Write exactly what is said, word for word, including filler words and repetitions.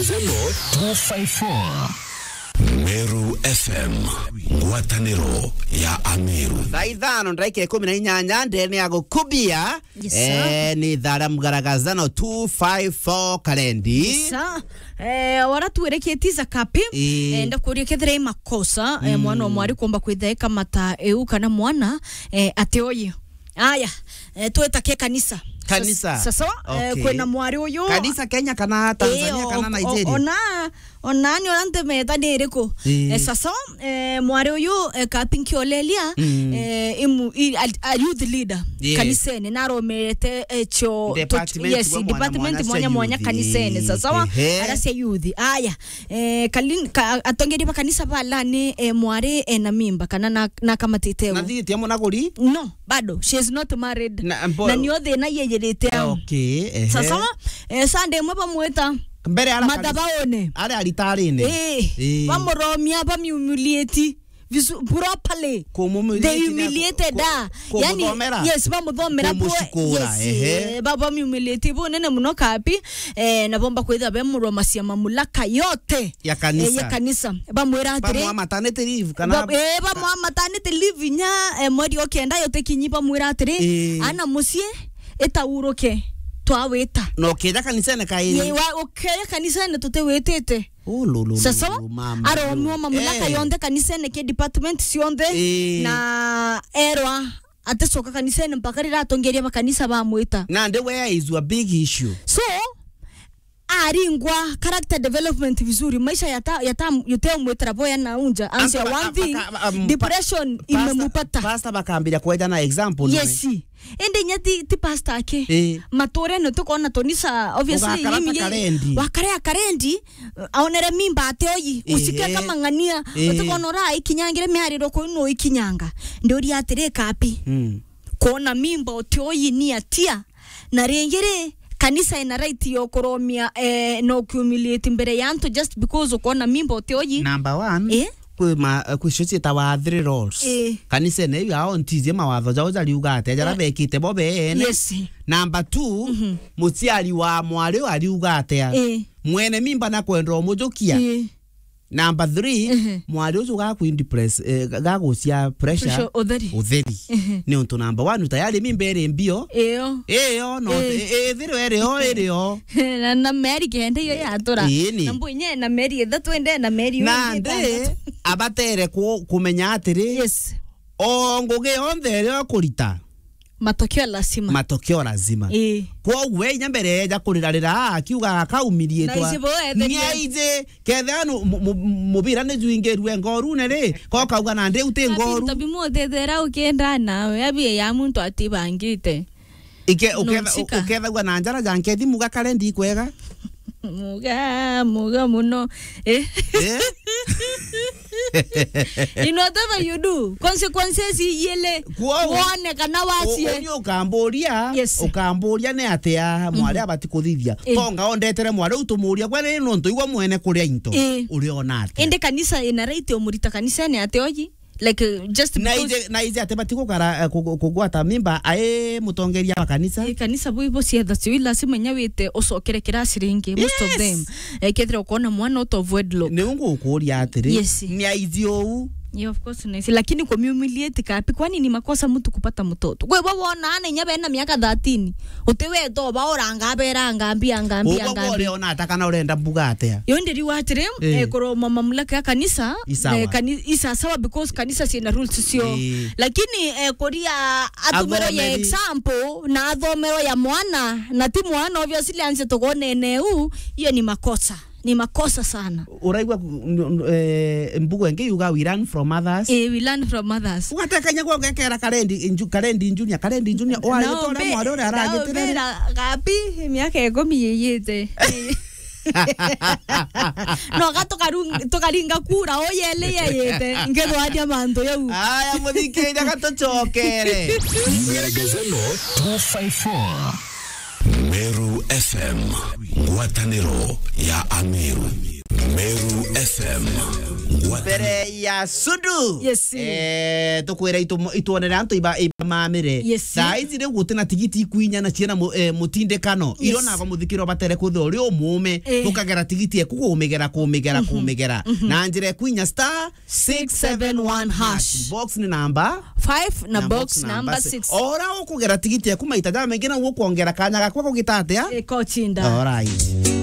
Zeno two five four. Meru F M, ngwataniro ya Ameru. Thaa ithano ndagika ikumi na inyanya ndene ya gukubia. Yes, sir. Eh, ni thaa ria mugaragazano two five four karendi. Yes, sir. Eh, wara tuwereketie za kapi. Ii. Eh, ndakuria kethira i makosa, eh, mwana wa mwari kuomba kwitha ekamata eu kana mwana, eh, ati oye. Aya, eh, twetake kanisa. Kanisa. Sa-, sa-, sawa, eh, okay. Kwina mwari uyu. Kanisa Kenya kana Tanzania, eh, kana o-, o-, Nigeria? Ona, ona ni ona ntemetha ni iriku? Ii. Eh, sasa, eh, mwari uyu, eh, Kapinki Olelia, mm, eh, imu-, i-, a, a youth leader, yes, kanisene, naromete, eh, cho, to-, department, yes, bwa mwanya department mwanya mwanya cia mwanya youth. Kanisene, ii, sasa, ehe, ara cia youth. Aya, eh, kalin-, ka-, atongeria ba kanisa balani, eh, mwari, eh, na mimba, kana na, na kamatite. Na thiitie munaguri? No. Bado, she is not married. Na, mbo-, na nio thina yeyirite au. Okay, ehe. Sasa, eh, Sunday imwe bamwita mbere ara mathabaone. Ari aritarine. Eh, eh, bamuromia, bamiumiliate visu-, properly. Kumumiliate. They humiliated her. Ku-, ku-, yani, kumuthomera? Yes, bamuthomera bwe. Kumucikura, yes, ehe, eh, ba-, bamiumiliate bunene muno kapi, eh, na bomba kwitha bemurwa macia mamulaka yote ya kanisa. Eh, ya kanisa. Bamwira atiri, bamwa maternity leave, kana ba-, eh, bamwa maternity leave inya, eh, mweri o kenda yote kinyi bamwira atiri, eh, ana mucii, itauruke, twawita. Na ukeja kanisene kairi. Ye, wa, ukeja kanisene tutiwitite. Oh, lo, lo, lo, sasa, lo, mama, aromiwa mamulaka, eh, yonthe kanisene, ki department cionthe, eh, na erwa aticoka kanisene mpaka riria atongeria ba kanisa bamwita. Nandi where is your big issue? So, aringwa character development vizuri, maisha yata, yata, yuteumwitira boya na unja. Ansia, amba, one thing, amba, um, depression pa-, pastor, imemupata. Pastor bakambiria kweja na example, yes, nwe. Indi inya ti, ti pastor aki. Eh. Maturene tukona tonisa, obviously, ugakara ta karendi. Wakare akarendi, aonere mimba ate oyi, ehe, usike kamang'ania, ehe, utikona ura ikinyangire miariro kuu no ikinyanga. Ndiuria atiri kapi. Mm. Kuona mimba ute oyi ni atia? Na ringi ri, kanisa ina right ya kuromia, eh, na ukiumiliate mbere ya antu just because ukona mimba ute oyi? Number one, eh? Kwi ma, kwi cio ciitawa three roles. Eh. Kanisene iu ao ntizie mawatho jao jariuga atia, jara, eh, bekite bo beene. Yes. Number two, mhm, muciari wa mwari uyu ariuga atia? Eh. Mwene mimba nakwenda umujukia? Eh. Number three, mhm, mwari ucio gakuindepress, eh, ga-, gagucia pressure. Pressure, utheri. Utheri. Mhm. Ni untu number one, tayari mimba iri mbio. Iyo. Iyo, no, eh, i-, ithirwe iri o, iri o. Na, na meri kenda iyo yatura. Ii, ni. Na mbu inye na meri ithatu ende na meri na ingi ndi itandatu. Abatere ku-, kumenya atiri, yes, o ngugi yonthe iria ukurita, matokeo lazima. Matokeo lazima. Ii. Kwoguo we inya mbere eja kurirarira akiuga akaumiriitwa. Na ici bo ethirire. Niaiji, kethira nu-, mu-, mu-, mubira ni juingirue ngorune ri, ko kauga na ndi uti ngoru. Tabi muthethera ukienda nawe, abi ya muntu atibangite. Ike, uketha-, nonchika. Ukethagua na njara ja nkethi muga kare ndikwega. Muga, muga muno. Eh? Eh? In whatever you do, consequences iyele. Kwoou, wone kana wacie. U-, uni ukamburia, yes, ukamburia ni atia mwari, mhm, abati kuthithia. Eh. Tonga ondetere mwari u tumuria, gwe ri nontu igwe mwene kuria into. Eh. Uriona atia? Indi kanisa ina right umurita kanisene ate oji? Like, uh, just na because ije, na ije ate bati gukara, eh, ku-, ku-, kugwata mimba ai mutongeria wa kanisa. Eh, kanisa bui bo cietha cio, lazima inya wite ucokere kirasi ringi, most of, yes, them. Eh, kethira ukona mwana out of wedlock. Niu ngukuria atiri, yes, ni aithi uu? Yeah, of course, nice. Lakini kumhumiliate kapi, kwani ni makosa mtu kupata mtoto? Kwe bo wona ana inya bena miaka thirteen, utiweta ubauranga, aberanga, mbia, nga, mbia, ugwe nga, mbia. Uriona ata kana urenda mbuga atia? Yo ndiriwa atiri, eh, eh, kuroma mamlaka ya kanisa, isawa, eh, kani-, isasawa because kanisa ciina rules cio. Eh. Lakini, eh, kuria atumiro ya athomeri, example, na athomero ya mwana, na ti mwana, obviously, anse tugonene u, iyo ni makosa. Ni makosa sana. Uraigua ku-, n-, n-, eh, mbugo ingi yuga, "We learn from others." Eh, we learn from others. Ugatekanya gwa ugekera Karendi Nju-, Karendi Junior, Karendi Junior, o agitore mbe-, mwari uria aragitire. Mbira gapi, miaka ikumi yiyite. No ga tukaru-, tukaringa kura o yele yeyite, ngithwaria mantu yau. Aya, muthikiriria, ga tucokere. Ngeregezano two five four. Meru F M, ngwataniro ya Ameru. Meru F M. Mbere ya Sudu. Yes. Eh, tukwira itu-, ituonere antu iba, iba mamire. Yes. Thaa ici riu guti na tigiti ikwinya na ciena mu-, eh, mutindikano. Yes. Iro nago muthikiro batere kuthe uri umume. Eh. Tukagera tigiti eku kumigera, kumigera, kumigera. Na njira ikwinya star six seven one hash. Box ni namba? Five na box number six. Ora ukugera tigiti eku maita jamaingi na ukwongera kanya gakwa kugita atia? Iko chinda. Alright.